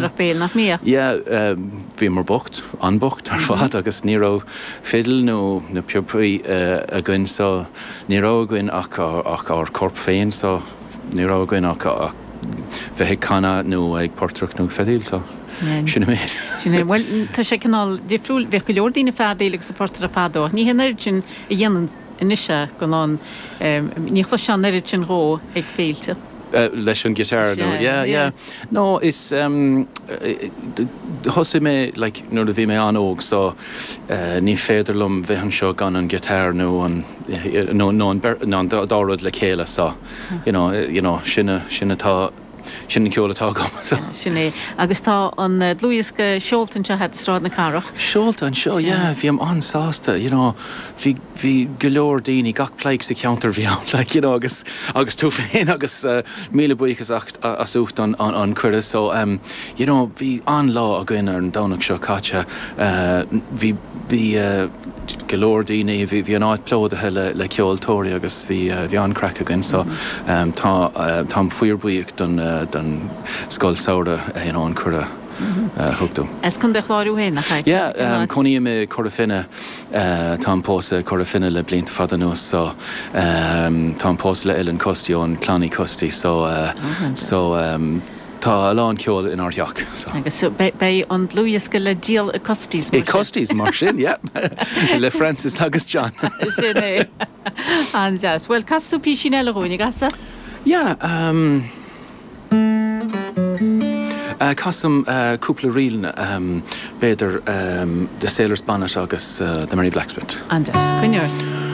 Nach mbíodh, nach mbíodh? Yeah, bhíomar bocht, an-bocht ar fad agus ní raibh fidil nó na píopaí againn so ní raibh againn ach ach ár corp féin so ní raibh againn ach ach bheith ag canadh nó ag portaireacht nó ag feadaíl so sin an méid. Sin é. Bhuel, tá sé cineál difriúil, bhíodh go leor daoine ag feadaíl agus ag portaireacht fadó ach ní hé an oiread sin a dhéanann anois é go lán, ní chloisfeá an oiread sin dhó ag féilte. Leis an guitar nó yeah yeah no is thosaigh mé like nuair a bhí mé an-óg so ní féidir liom bheith anseo gan an guitar nó an nó nó an nó an dá rud le chéile so you know you know sin sin atá Sin an ceol atá agam. Sin é. Agus tá an dlúthdhiosca seolta anseo agat i Sráid na Cathrach. Seolta anseo, yeah. Bhím an-sásta, you know. Bhí, bhí go leor daoine, gach pleidhce sa cheantar bhí ann, like, you know, agus, agus tú féin agus míle buíochas as ucht an, an, an cuireadh. So, you know, bhí an-lá againn ar an Domhnach seo caite. Bhí, bhí go leor daoine, bhí, bhí an áit plódaithe le, le ceoltóirí agus bhí, bhí an-craic againn. So, tá, táim fíorbhuíoch don, don scoil samhraidh, you know, an cuireadh a thug dom. As Contae an Chláir thú féin, nach ea? Yeah, cónaím i Cora Finne, táim pósta i Cora Finne le blianta fada anuas so, táim pósta le Ellen Custy ón Clann Uí Custy so, so, Tá a lán ceoil inár dteach so. Agus beidh an dlúthdhiosca le díol i Custy's mar sin. I Custy's mar sin, yeah. Le Francis agus John. Sin é. An-deas. Bhuel, casfaidh tú písín eile dhúinn, an gcasfaidh? Yeah, um, casaim cúpla ríl, b'fhéidir The Sailor's Bonnet agus The Merry Blacksmith. An-deas. Coinnigh ort.